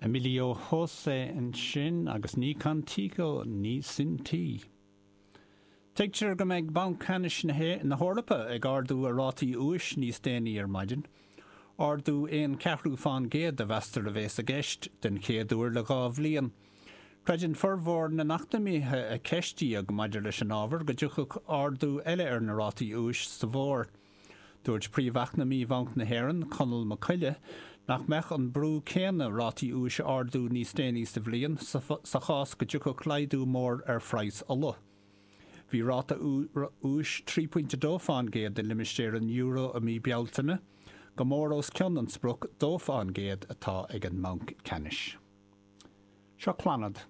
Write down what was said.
Emilio José ansin agus Ni Contigo Ni Sin Ti. Tuigtear go mbeidh Banc Ceannais na hEorpa ag ardú a rátaí úis níos déanaí ar maidin. Ardú aon cheathrú fán gcéad a mheastar a bhéas i gceist, den chéad uair le 2 bhliain. Creideann formhór na n-eacnamaithe a ceistíodh maidir leis an ábhar go dtiocfadh ardú eile ar na rátaí úis sa bhfómhar. Dúirt Príomh-Eacnamaí Bhanc na hÉireann, Conall Mac Coille, nach mbeadh an brú céanna rátaí úis a ardú níos déanaí sa bhliain sa chás go dtiocfadh laghdú mór ar phraghas ola. Bhí ráta úis 3.2 fán gcéad i limistéar an euro i mí Bealtaine, go mór os cionn an sprioc 2 fán gcéad atá ag an mBanc Ceannais. Seo Clannad.